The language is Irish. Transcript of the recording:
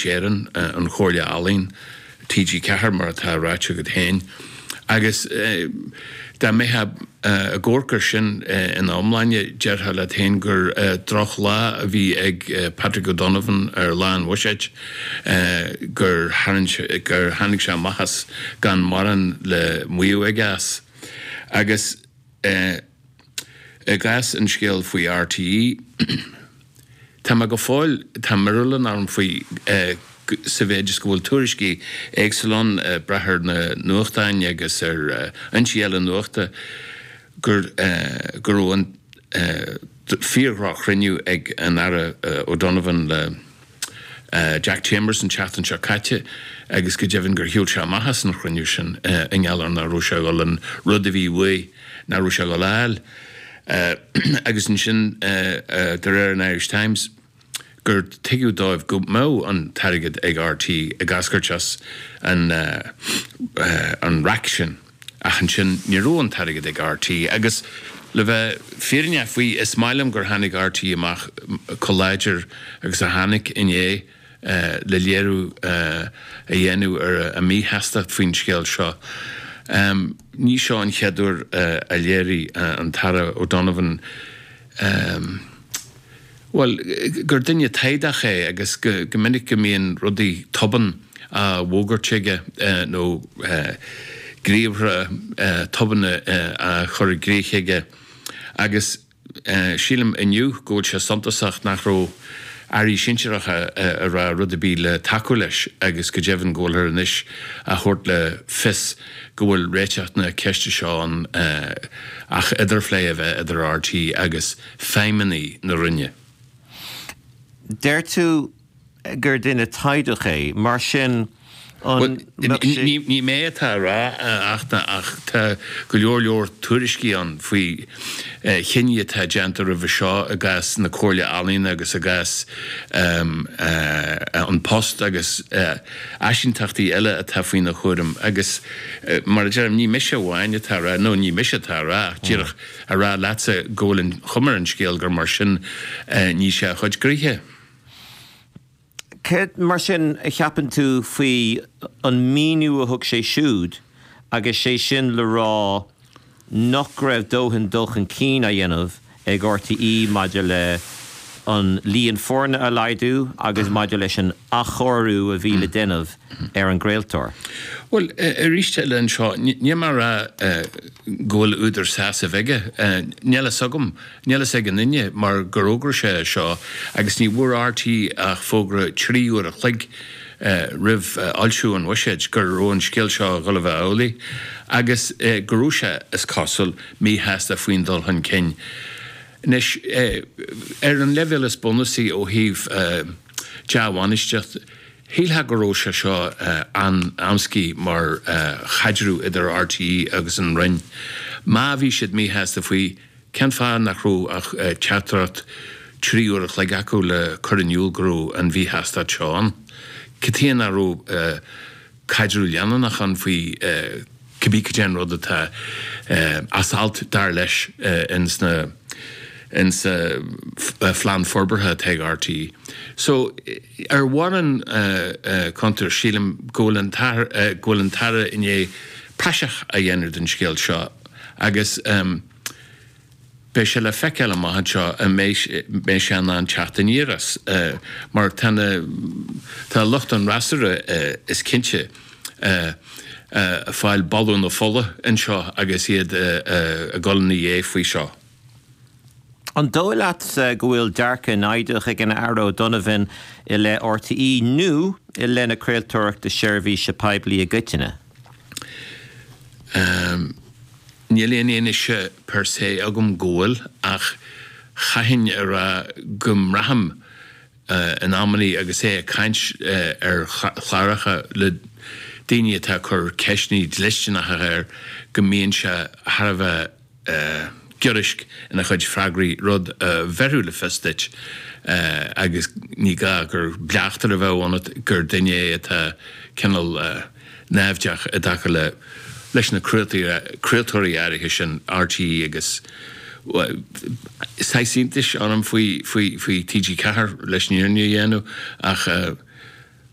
Fís Éireann, an Chomhairle Ealaíon, TG4 mar atá ráite agat féin. Agus dá mbeifeá ag amharc air sin ina iomláine, déarfá leat féin gur drochlá a bhí ag Patrick O'Donovan ar lá an bhuiséid, gur gur tháinig sé amach as gan mórán le maíomh aige as. Agus. I gcás an scéil faoi RTÉ, tá mé go fóill, tá míorúil orm faoi sa mhéid is go bhfuil tuairiscí éagsúla ann, ag brath ar na nuachtáin agus ar fhoinsí eile nuachta, gur go raibh an fíor-dhroch-chruinniú ag an Aire O'Donovan le Jack Chambers an tseachtain seo caite agus go deimhin gur shiúil sé amach as an chruinniú sin i ngeall ar nach raibh sé ag dul an rud a bhí uaidh, nach raibh sé ag dul a fháil. Agus ansin, de réir an Irish Times, gur tuigeadh dóibh go mbeadh an t-airgead ag RTÉ ag eascairt as an an raic sin. Ach ansin, ní raibh an t-airgead ag RTÉ. Agus le bheith fírinneach faoi, is maith liom gur tháinig RTÉ amach chomh láidir agus a tháinig inné le léiriú a dhéanamh ar a míshástacht faoin scéal seo. Ní seo an chéad uair a léirigh an tAire O'Donovan, bhuel, gur duine taghdach é agus go minic go mbíonn rudaí tobann á bhfógairt aige nó gníomhartha tobanna á chur i gcrích aige agus sílim inniu go bhfuil sé suntasach nach raibh airí sinsearacha ag rá rud ar bith le tacú leis agus go deimhin go bhfuilthear anois á thabhairt le fios go bhfuil réiteach na ceiste seo ann ach idirphlé a bheith idir RTÉ agus feidhmeannaigh na Roinne. Deir tú gur duine taghdach é, mar sin an mbeadh sé. Ní mé atá á rá ach ach tá go leor leor tuairiscí ann faoi chinní atá déanta roimhe seo i gcás na Comhairle Ealaíon agus i gcás An Post agus áisíntachtaí eile atá faoina chúram agus mar a deirim ní mise amháin atá á rá, nó ní mise atá á rá ach díreach a rá leatsa go bhfuil an chuma ar an scéal gur mar sin a ní sé a chuid gnoithe. Céard, mar sin, a cheapann tú faoi an míniú a thug sé siúd agus sé sin le rá nach raibh dóthain dul chun cinn á dhéanamh ag RTÉ maidir le an líon foirne a laghdú agus maidir leis an athchóiriú a bhí le déanamh ar an gcraoltóir? Bhuel, arís eile anseo, níl mé ag rá go bhfuil údar sásaimh aige. Níl fhios agam, níl fhios ag aon duine mar gur fhógair sé é seo agus ní bhfuair RTÉ ach fógra 3 uair a chloig roimh fhoilsiú an bhuiséid go raibh an scéal seo ag dul a bheith amhlaidh agus go raibh sé, is cosúil, míshásta faoin dul chun cinn. Anois, ar an leibhéal is bunúsaí ó thaobh dea-bhainistíocht, Shílfeá go raibh sé seo an-amscaí mar chaidreamh idir RTÉ agus an Roinn. Má bhí siad míshásta faoi, cén fáth nach raibh ach teachtaireacht 3 uair a chloig acu le cur in iúl go raibh an mhíshástacht seo ann? Cad chuige nach raibh caidreamh leanúnach ann faoi cibé cad é an rud atá as alt, dar leis, ins na insa phlean forbartha atá ag RTÉ. So, ar mhórán cuntar, sílim go bhfuil an go bhfuil an tAire i ndiaidh praiseach a dhéanamh den scéal seo agus beidh sé le feiceáil amach anseo an mbeidh sé in ann teacht aniar as mar tá na tá lucht an fhreasúra is cinnte ag fáil boladh na fola anseo agus iad ag dul ina dhiaidh faoi seo. An dóigh leatsa go bhfuil dearcadh naimhdeach ag an Aire O'Donovan i leith RTÉ nó i leith na craoltóireachta seirbhíse poiblí i gcoitinne? Níl aon fhianaise per se agam go bhfuil, ach chaithfinn a rá go mbraithim in amannaí agus é ag caint ar chláracha le daoine atá ag cur ceisteanna dlisteanacha air go mbíonn sé thar a bheith giorraisc ina chuid freagraí, rud a bhéarfadh le fios duit, agus ní gá gur bleachtaire a bheadh ionat, gur duine é atá cineál naimhdeach i dtaca le leis na craoltóirí áirithe sin, RTÉ agus saghas iontais orm faoi faoi faoi TG4 leis an fhírinne a dhéanamh ach.